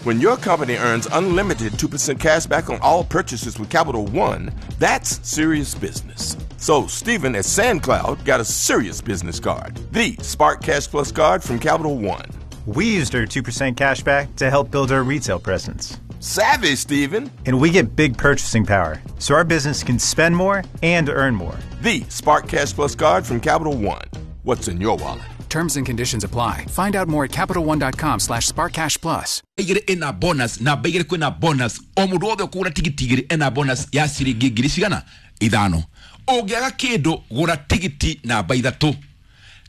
When your company earns unlimited 2% cash back on all purchases with Capital One, that's serious business. So Steven at SandCloud got a serious business card, the Spark Cash Plus card from Capital One. We used our 2% cash back to help build our retail presence. Savvy, Steven. And we get big purchasing power, so our business can spend more and earn more. The Spark Cash Plus card from Capital One. What's in your wallet? Terms and conditions apply. Find out more at CapitalOne.com/SparkCashPlus. Igĩrĩ ĩna bonus, namba igĩrĩ kwĩna bonus, o mũndũ wothe ũkũgũra tigiti igĩrĩ ena bonus ya ciringi ngiri cigana ithano. Ũngĩaga kĩndũ, gũra tigiti namba ithatũ.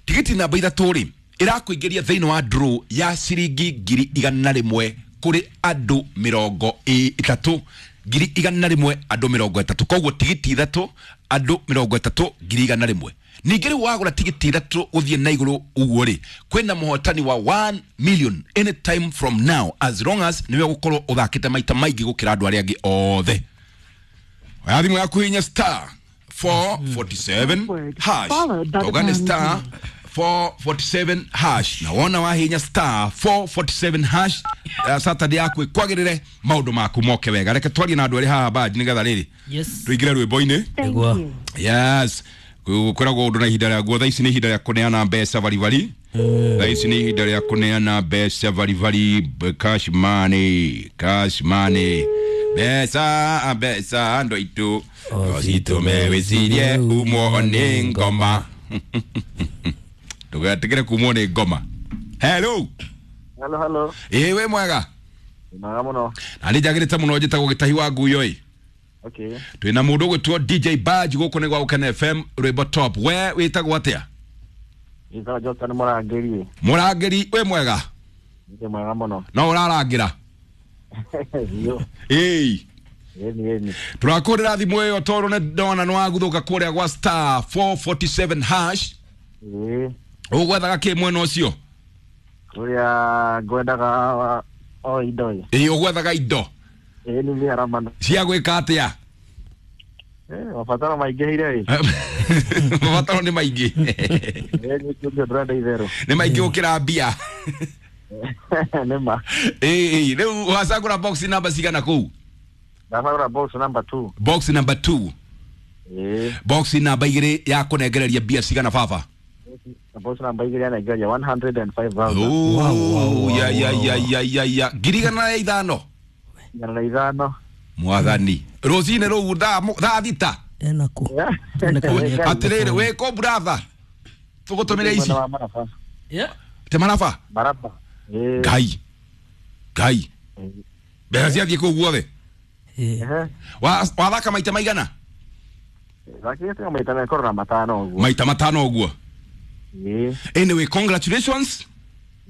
Tigiti namba ithatũ rĩ, ĩrakũingĩria thĩinĩ wa draw ya ciringi 100,000 kũrĩ andũ 30, 100,000 andũ 30. Koguo tigiti ithatũ andũ 30, 100,000. Ningĩ rĩu wagũra tigiti ithatũ ũthiĩ na igũrũ ũguo rĩ, kwĩna mũhotani wa 1 million anytime from now, as long as nĩwe ũgũkorwo ũthakĩte maita maingĩ gũkĩra andũ arĩa angĩ othe. Oya thimũ yaku, hihinya star 447 hash. Toga nĩ star 447 hash, na wona wahinya star 447 hash, Saturday yaku ĩkwagĩrĩre, maũndũ maku moke wega. Reke twarie na andũ erĩ haha baji nĩgetha rĩrĩ tũingĩre rwĩmbo-inĩ. Nĩguo. Yes, kwĩragwo ũndũ na ihinda rĩaguo. Thaa ici nĩ ihinda rĩa kũneana mbeca baribari. Thaa ici nĩ ihinda rĩa kũneana mbeca baribari, cash money, cash money, mbeca, mbeca andũ aitũ ocitũme wĩcirie umwo nĩ ngoma. Ndũgetigĩre kumwo nĩ ngoma. Hello. Hello, hello. Ĩĩ, wĩ mwega? Mwega mũno. Na nĩ njagĩrĩte mũno. Njĩtagwo Gĩtahi wa Nguyo ĩ. Twĩna mũndũ ũgwĩtwo DJ Badge gũkũ nĩ gwa Gũkena FM, rwĩmbo top. We wĩtagwo atĩa? Njĩtagwo Johnston Mũrangĩri. Mũrangĩri, wĩ mwega? Ndĩ mwega mũno. No ũrarangĩra? Biũ. Ĩĩ. Ĩni, ĩni. Tũrakũrĩra thimũ ĩyo tondũ nĩ ndona nĩ waguthũka kũrĩa gwa star 447 hash. Ĩĩ. Ũgwethaga kĩ mwena ũcio? Kũrĩa ngwendaga o indo ĩ. Ĩĩ, ũgwethaga indo? Ĩĩ, nĩ mĩaramano. Cia gwĩka atĩa? Mabataro maingĩhire ĩ. Mabataro nĩ maingĩ. Ĩĩ, nĩ kĩndũ ndĩrenda itherũ. Nĩ maingĩ gũkĩra mbia. Nĩ ma. Ĩĩ, rĩu wacagũra box namba cigana kũu? Ndacagũra box number 2. Box number 2? Ĩĩ. Box namba igĩrĩ ya kũnengereria mbia cigana, baba? Box namba igĩrĩ yanengereria 105,000. Oh, ya ya ya ya ya ya, 105,000. 105. Mwathani, rũcinĩ rũu thaa 6. Enaku. Atĩrĩrĩ, wĩ kũ brother, tũgũtũmĩre ici? Mwena wa Maraba. Te Maraba? Maraba. Ĩĩ. Ngai, Ngai, mbeca ciathiĩ kũu guothe. Ehe. Wathaka maita maigana? Thakĩte maita mekorwo na matano ũguo. Maita matano ũguo? Ĩĩ. Anyway, congratulations.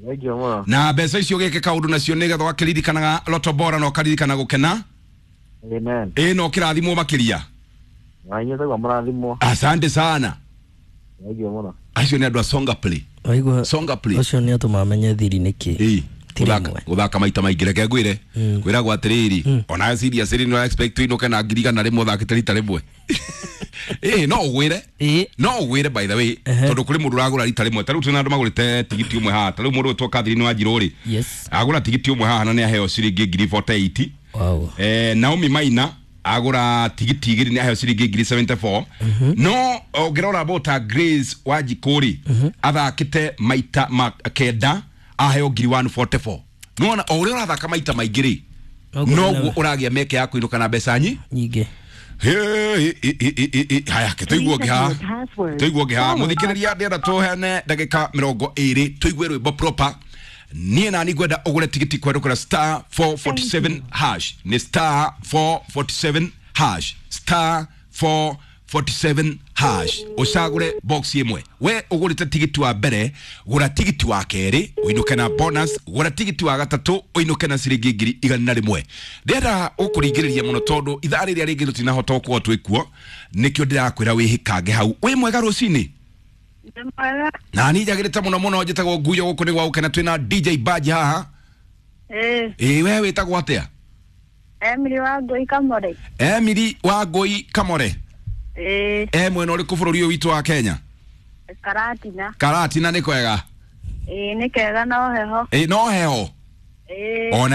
Thengiũ mũno. Na mbeca icio gĩke kaũndũ nacio nĩgetha ũgakĩririkanaga Loto Bora na ũkaririkana gũkena. Amen. Ĩ, na ũkĩrathimwo makĩria. Na inyuĩ taguo mũrathimwo. Asante sana. Thengiũ mũno. Acio nĩ andũ a Songa Play. Waigua. Songa Play. Ũcio nĩ atũma amenye thiri nĩ kĩ. Ĩĩ. Ti rĩmwe. Gũthaka maita maingĩ, reke ngwĩre, kwĩragwo atĩrĩrĩ, ona serious rĩ, no expect ũinũke na 100,000 ũthakĩte rita rĩmwe. Ĩĩ, no ũgwĩre. Ĩĩ. No ũgwĩre, by the way, tondũ kũrĩ mũndũ ũragũra rita rĩmwe. Ta rĩu twĩna andũ magũrĩte tigiti ũmwe haha. Ta rĩu mũndũ ũgwĩtwo Catherine Wanjirũ rĩ, agũra tigiti ũmwe haha na nĩ aheo ciringi 48,000. Naomi Maina agũra tigiti igĩrĩ, nĩ aheo ciringi 74,000. No ũngĩrora bota Grace Wanjikũ rĩ, athakĩte maita ma kenda, aheo 144,000. Nĩwona o ũrĩa ũrathaka maita maingĩ rĩ, Noguo noguo ũragĩa meke ya kũinũka na mbeca nyingĩ. Haya, ke tũigue ũngĩ haha, tũigue ũngĩ haha. Mũthikĩrĩria, ndĩrenda tũheane ndagĩka 20 tũigue rwĩmbo proper. Niĩ nani ngwenda ũgũre tigiti kwerũkĩra star 447 hash. Nĩ star 447 hash, star 447 hash, ũcagũre box ĩmwe. We ũgũrĩte tigiti wa mbere, gũra tigiti wa kerĩ ũinũke na bonus, gũra tigiti wa gatatũ ũinũke na ciringi 100,000. Ndĩrenda ũkũringĩrĩria mũno tondũ ithaa rĩrĩa rĩngĩ tũtinahota gũkorwo twĩ kuo, nĩkĩo ndĩrakwĩra wĩhĩkange hau. Wĩ mwega rũcinĩ? Mwega. Na niĩ njagĩrĩte mũno mũno. Njĩtagwo Nguyo, gũkũ nĩ gwa Gũkena, twĩna DJ Badge haha. Ĩĩ. Ĩĩ, we wĩtagwo atĩa? Emily Wangũi Kamore. Emily Wangũi Kamore? Ĩĩ. E mwena ũrĩkũ bũrũri ũyũ witũ wa Kenya? Karatina. Karatina nĩ kwega? Ĩĩ, nĩ kega no heho. Ĩ, no heho? Ĩĩ. Ona.